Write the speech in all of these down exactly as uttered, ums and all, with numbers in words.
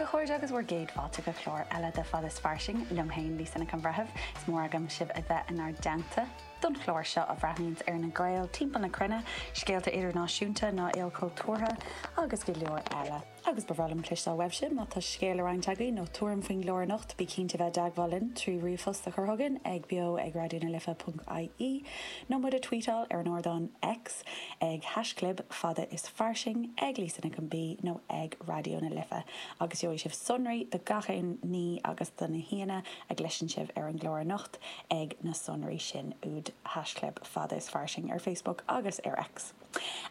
A chairde agus bhur gcéad fáilte go clár eile de Fada is Fairsing liom féin Lisa Nic an Bhreithimh, is mór agam sibh a bheith inár dteannta don chlár seo a bhreathnaíonns ar na Gaeil timpeall na cruinne, scéalta idirnáisiúnta nó ilchultúrtha agus go leor eile. Agus ba bhreá liom cloisteáil uaibhse má tá scéal le roinnt agaibh nó tuairim faoin gclár anocht bí cinnte bheith i dteagmháil linn trí ríomhphost a chur chugainn ag beo ag raidió na life ponc ie nó muid a tweetáil ar an ardán X ag haischlib fada is fairsing ag Lisa Nic an B nó ag Raidió na Life agus gheobhaidh sibh sonraí do gach aon ní agus do na haíonna a gcloiseann sibh ar an gclár anocht ag na sonraí sin úd haischlib fada is fairsing ar Facebook agus ar X.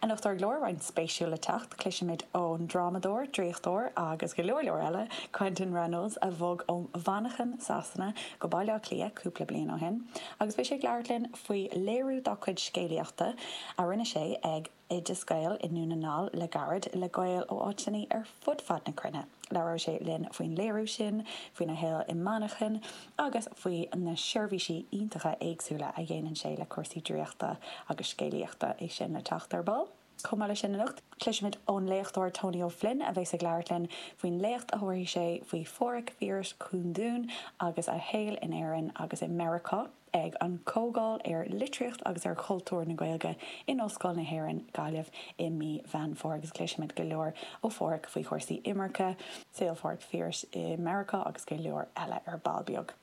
Anocht ar an gclár roinnt spéisiúil le teacht, cloisfimid ón drámadóir, draíochtóir agus go leor leor eile, Quentin Reynolds, a bhog ó Mhanchain Sasana go Baile Átha Cliath cúpla bliain ó shin, agus beidh sé ag labhairt linn faoi léiriú dá chuid scéalaíochta a rinne sé ag Oideas Gael i nDún na nGall le gairid le Gaeil ó áiteanna ar fud fad na cruinne. Labhróidh sé linn faoin léiriú sin, faoina shaol i Manchain agus faoi na seirbhísí iontacha éagsúla a dhéanann sé le cúrsaí draíochta agus scéalaíochta é sin le teacht ar ball. Chomh maith leis sin anocht, cloisfimid ón léachtóir Tony O'Flynn a bheas ag labhairt linn faoin léacht a thabharfaidh sé faoi Phádhraic Phiarais Kundun agus a shaol in Éirinn agus i Meiriceá ag an Chomhdháil ar Litríocht agus ar Chultúr na Gaeilge in Ollscoil na hÉireann, Gaillimh i mí Mheán Fómhair agus cloisfimid go leor ó Phádhraic faoi chúrsaí imirce, saol Phádhraic Phiarais i Meiriceá agus go leor eile ar ball beag.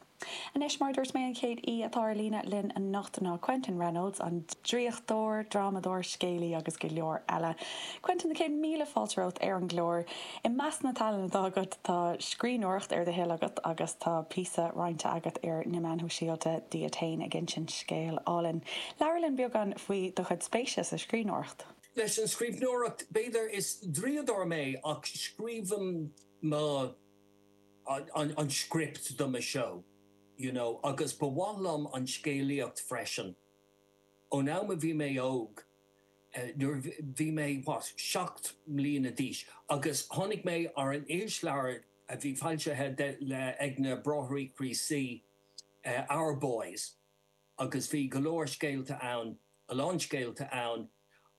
Anois mar dúirt mé an chéad aoi atá ar líne linn anocht ná Quentin Reynolds, an draíochtóir, drámadóir, scéalaí agus go leor eile. Quentin na céad míle fáilte romhat ar an gclár. I measc na tallann atá agat tá scríbhneoireacht ar do thoil agat agus tá píosa roinnte agat ar na meáin shóisialta díot féin ag insint scéal álainn. Labhair linn beagán faoi do chuid spéise sa scríbhneoireacht. Leis an scríbhneoireacht b'fhéidir is draíodóir mé ach scríobhaim mo an, an script do mo show. You know, agus ba mhaith liom an scéalaíocht freisin. Ón am a bhí mé óg, nuair bhí mé what, seacht mbliana d'aois, agus tháinig mé ar an irisleabhar a bhí foilsithe le ag na Bráithrí Críostaí uh, Our Boys, agus bhí go leor scéalta ann, a lán scéalta ann,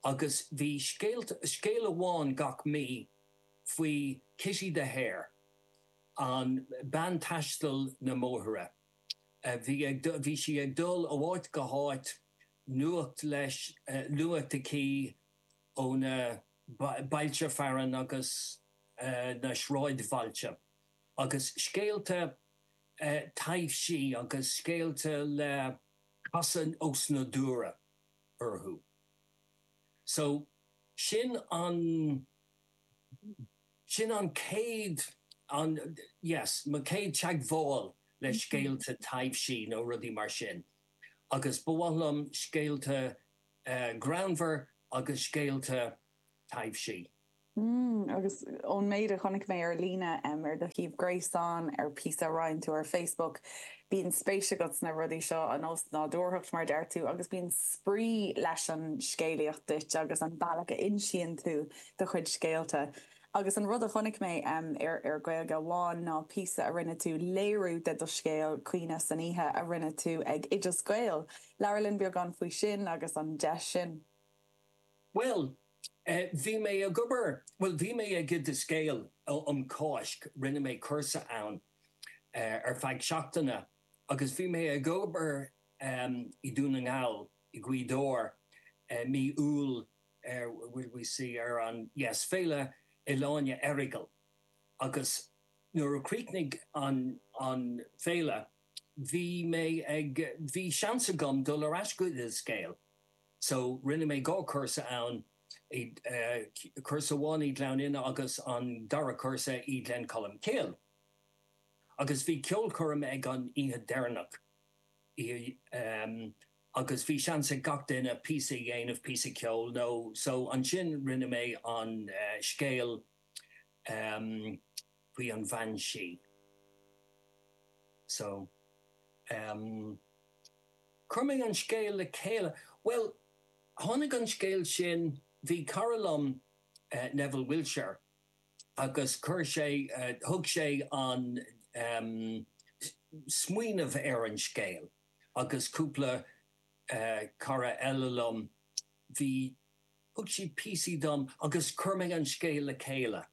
agus bhí scéalta, scéal amháin gach mí faoi Kitty the Hare, an bean taistil na mbóithre. Bhí ag bhí sí ag dul ó áit go háit nuacht leis nuacht aici ó na bailte fearainn agus na sráidbhailte. Agus scéalta taibhsí agus scéalta le casadh osnádúrtha orthu. So sin an sin an chéad an yes, mo chéad teagmháil le scéalta taibhsí nó rudaí mar sin. Agus ba mhaith liom scéalta uh, greannmhar agus scéalta taibhsí. Mm, agus ón méid a chonaic mé ar líne um, ar do shuíomh gréasáin ar píosa a roinn tú ar Facebook, bíonn spéis agat sna rudaí seo an osnádúrthacht mar deir tú agus bíonn spraoi leis an scéalaíocht duit agus an bealach a insíonn tú do chuid scéalta. Agus an rud a chonaic mé um, ar ar Gaeilge Amháin ná píosa a rinne tú léiriú de do scéal Caoineadh san Oíche a rinne tú ag Oideas Gael. Labhair linn beagán faoi sin agus an deis sin. Well, uh, bhí mé ag obair, well bhí mé ag Oideas Gael um Cáisc, rinne mé cúrsa ann uh, ar feadh seachtaine agus bhí mé ag obair um, i Dún na nGall i Gaoth Dobhair uh, mí Iúil uh, will we see ar an yes, Féile Oileáin Errigal. Agus nuair a chríochnaigh an, an féile, bhí mé ag bhí seans agam dul ar ais go Oideas Gael. So rinne mé dhá cúrsa ann uh, cúrsa amháin i Gleann Fhinne agus an dara cúrsa i Gleann Cholm Cille. Agus bhí ceolchoirm ag an oíche deireanach. Um, agus bhí seans ag gach duine píosa a dhéanamh píosa ceoil nó so ansin rinne mé an uh, scéal um, faoi an bhean sí. So um, chuir mé an scéal le chéile. Well, tháinig an scéal sin bhí cara liom uh, Neville Wilshire agus chuir sé uh, thug sé an um, smaoineamh ar an scéal agus cúpla uh, cara eile liom bhí thug siad píosaí dom agus chuir mé an scéal le chéile.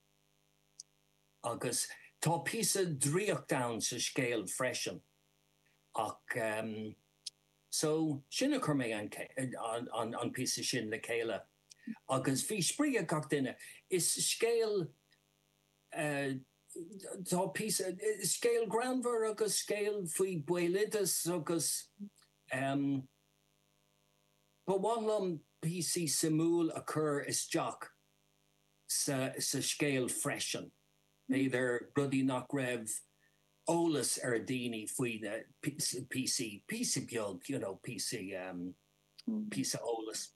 Agus Tá píosa draíocht ann sa scéal freisin ach um, so sin a chuir mé an, an, an, an píosa sin le chéile. Agus bhí spraoi ag gach duine. Is scéal uh, tá píosa scéal greannmhar agus scéal faoi bhéaloideas agus um, Ba mhaith liom píosaí suimiúil a chur isteach sa, sa scéal freisin. B'fhéidir rudaí nach raibh eolas ar daoine faoi na píosaí píosa beag you know, píosaí um, píosa eolas.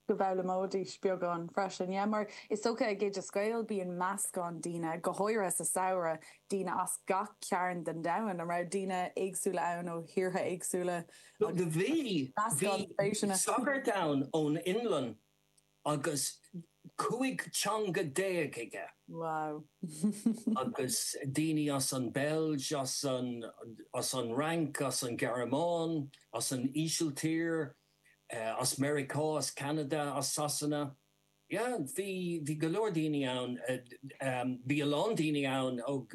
go bhfoghlaimeoidís beagán freisin. Yeah, mar is dócha ag Oideas Gael bíonn meascán daoine go háirithe sa samhradh daoine as gach cearn den domhan an raibh daoine éagsúla ann ó thíortha éagsúla. Do bhí sagart ann ón Fhionlainn agus cúig teanga déag aige. Wow. agus daoine as an Beilg as an, as an Fhrainc, as an Ghearmáin, as an Ísiltír, uh, as Meiriceá, as Canada, as Sasana. Yeah, bhí bhí go leor daoine ann uh, um, bhí a lán daoine ann ó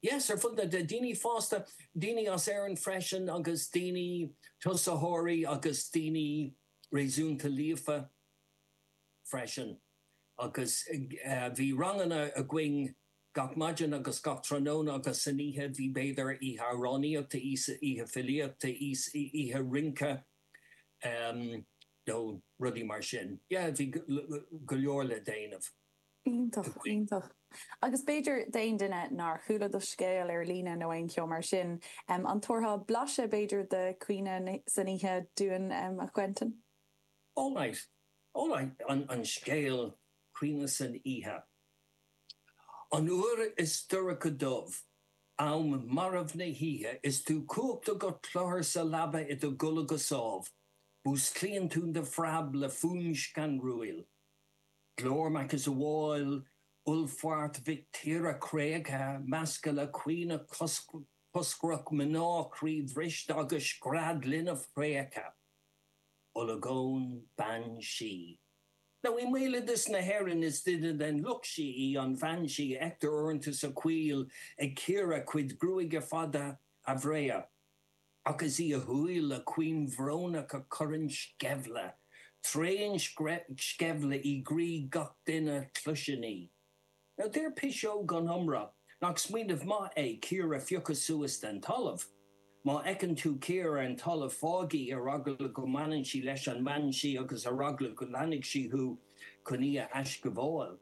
yes, ar fud na daoine fásta daoine as Éirinn freisin agus daoine tosaitheoirí agus daoine réasúnta líofa freisin. agus uh, bhí ranganna againn gach maidin agus gach tráthnóna agus san oíche bhí b'fhéidir oíche amhránaíochta oíche filíochta oíche rince um, nó rudaí mar sin. Yeah, bhí go leor le déanamh. Iontach iontach. Agus b'fhéidir d'aon duine nár chuala do scéal ar líne nó aon cheo mar sin, um, an dtabharfá blaiseadh b'fhéidir de Caoineadh san Oíche dúinn um, a Quentin? All right. All right. An, an scéal Caoineadh san Oíche. An uair is dorcha dubh, am marbh na hoíche is tú cuachta go cluthar sa leaba i do chodladh go sámh, Músclaíonn tú de phreab le fuaim scanrúil. Glór macasamhail ullmhairt mhic tíre tréigthe measctha le caoineadh coscrach mná croíbhriste agus scread linbh thréigthe. Olagón bean sí. Now i mbéaloideas na hÉireann is duine den lucht sí í an bhean sí a fheictear uaireanta sa choill ag cíoradh cuid gruaige fada a bhréa. Ach is í a shúil a caoin bhrónach a chuireann sceimhle, tréan sceimhle i gcroí gach duine a chloiseann í. Now deir piseog gan iomrá nach smaoineamh maith é cíor a phiocadh suas den talamh. Má fheiceann tú cíor ar an talamh fág í ar eagla go mbaineann sí leis an mbean sí agus ar eagla go leanfaidh sí thú chun í a aisghabháil.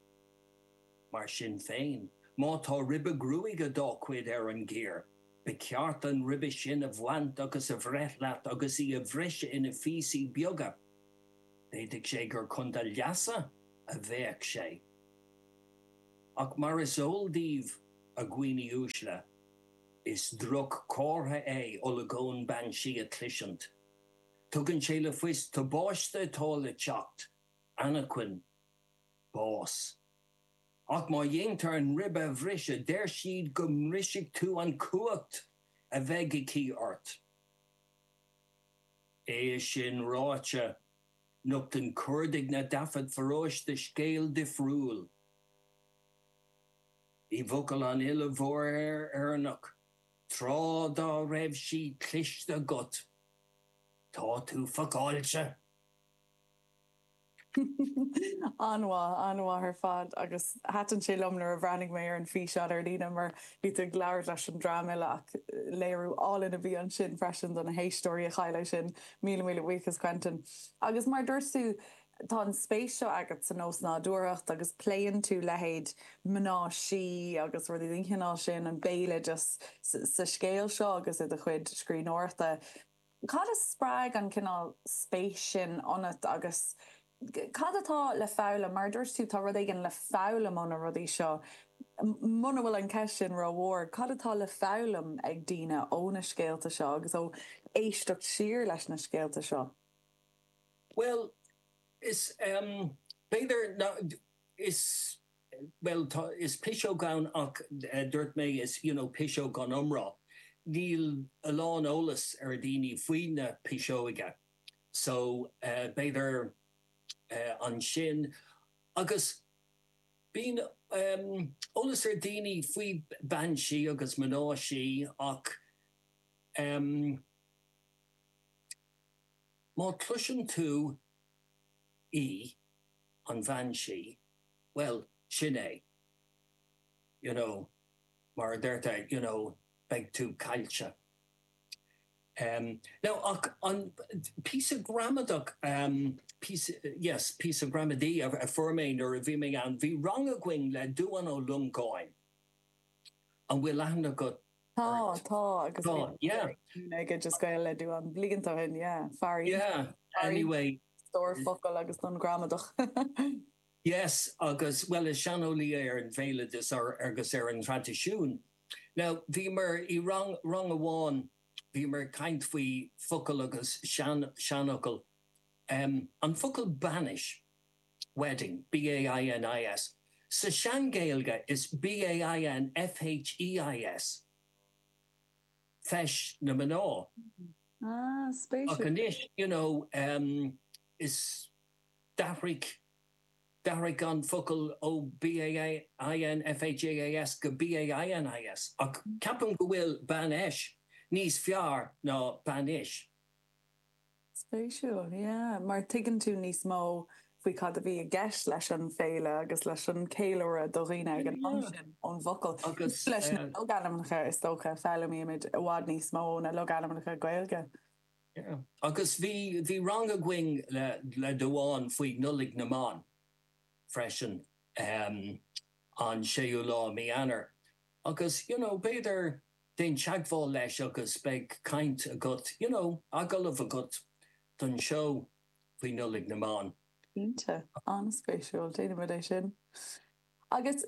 Mar sin féin, má tá ribe gruaige dá cuid ar an gcíor, Ba cheart an ribe sin a bhaint agus a bhreith leat agus í a bhriseadh ina phíosaí beaga. D'fhéadfadh sé gur chun do leasa a bheadh sé. Ach mar is eol daoibh, a dhaoine uaisle, is droch-chomhartha é olagón bean sí a chloisint. Tugann sé le fios tubaiste atá le teacht, anachain, bás. Ach má dhéantar an ribe a bhriseadh, deir siad go mbrisfidh tú an chumhacht a bheidh aici ort. É sin ráite, nochtann cuardaigh na dtaifead pharóiste scéal difriúil. I bhfocail an fhile mhóir Éireannach, tráth dá raibh sí cloiste agat, tá tú fucáilte! An-mhaith, an-mhaith ar fad agus thaitin sé liom nuair a bhreathnaigh mé ar an físeán ar líne mar bhí tú ag labhairt leis an dream eile ach léiriú álainn a bhí ansin freisin do na héisteoirí a chaill é sin. Míle míle buíochas Quentin. Agus mar dúirt tú tá an spéis seo agat san osnádúrthacht agus pléann tú leithéid mná sí agus rudaí den chineál sin an béaloideas sa scéal seo agus i do chuid scríbhneoireachta. Cad a spreag an cineál spéis sin ionat agus cad atá le foghlaim? Mar a dúirt tú, tá rud éigin le foghlaim ó na rudaí seo. Muna bhfuil an ceist sin rómhór, cad atá le foghlaim ag daoine ó na scéalta seo agus ó éisteacht siar leis na scéalta seo? Bhuel, is, b'fhéidir, is, bhuel, tá, is piseog ann ach dúirt mé is, you know, piseog gan iomrá. Níl a lán eolas ar daoine faoi na piseoga. So, b'fhéidir ansin agus Bíonn um, eolas ar daoine faoi bean sí agus mná sí ach um, má chloiseann tú í an bhean sí, well sin é. You know, mar a deirtear, you know, beidh tú caillte. Um, now ach an píosa gramadach um, píosa, yes, píosa gramadaí a, a fuair mé nuair a bhí mé ann, bhí rang againn le Dubhán Ó Longáin. An bhfuil aithne agat Tá tá agus Tá, yeah. ag just gael le Dubhán blianta ó shin, yeah, fear Yeah, anyway. stór focal agus don gramadach. Yes, agus well is seaneolaí ar an bhéaloideas ar agus ar an traidisiún. Now bhíomar i rang rang amháin bhíomar ag caint faoi focal agus sean seanfhocal. Um, an focal bainis wedding B A I N I S. Sa sean-Ghaeilge is B A I N F H E I S. Feis na mná. Ah, Ach spéisiúil. anois, you know, um, is d'athraigh d'athraigh an focal ó B A I N F H E I S go B A I N I S ach ceapaim go bhfuil banfheis níos fearr ná bainis. Spéisiúil, yeah. Mar tuigeann tú níos mó faoi cad a bhí i gceist leis an féile agus leis an céiliúradh do dhaoine ag an am Yeah. sin ón bhfocal. Agus leis na uh, logainmneacha is dócha foghlaimímid i bhfad níos mó na logainmneacha Gaeilge. yeah. Agus bhí bhí rang againn le le Dubhán faoi Nollaig na mBan freisin um, an séú lá mí Eanáir. Agus you know, b'fhéidir déan teagmháil leis agus beidh caint agat, you know, agallamh agat don seó faoi Nollaig na mBan. Cinnte an-spéisiúil déanfaimid é sin. Agus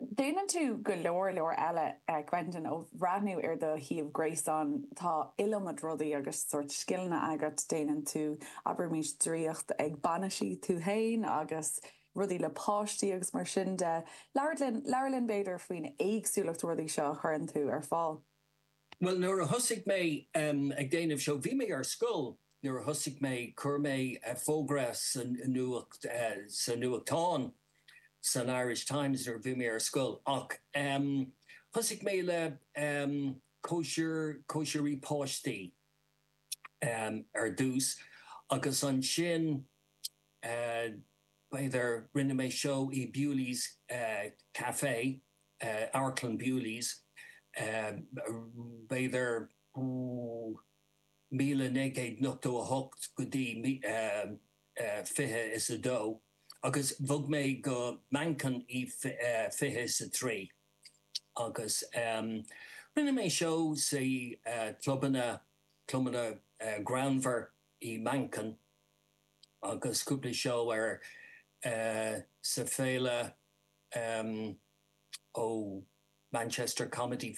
déanann tú go leor leor eile uh, Quentin ó bhreathnú ar do shuíomh gréasáin tá iliomad rudaí agus sórt scileanna agat déanann tú abraimis draíocht ag bainisí tú féin agus rudaí le páistí agus mar sin de labhair linn labhair linn b'fhéidir faoin éagsúlacht rudaí seo a chuireann tú ar fáil. Well nuair a thosaigh mé um, ag déanamh seo bhí mé ar scoil nuair a thosaigh mé chuir mé uh, fógra san nuacht uh, sa nuachtán san Irish Times nuair bhí mé ar scoil ach um, thosaigh mé le um, cóisir cóisirí páistí um, ar dtús agus ansin uh, b'fhéidir rinne mé seó i Bewley's uh, Café uh, Amharclann Bewley's uh, b'fhéidir míle naoi gcéad nócha a hocht go dtí uh, uh, fiche is a dó agus bhog mé go Manchain i uh, fiche is a trí agus um, rinne mé seó sa uh, clubanna clubanna uh, greannmhar i Manchain agus cúpla seó ar uh, sa féile um, ó Manchester Comedy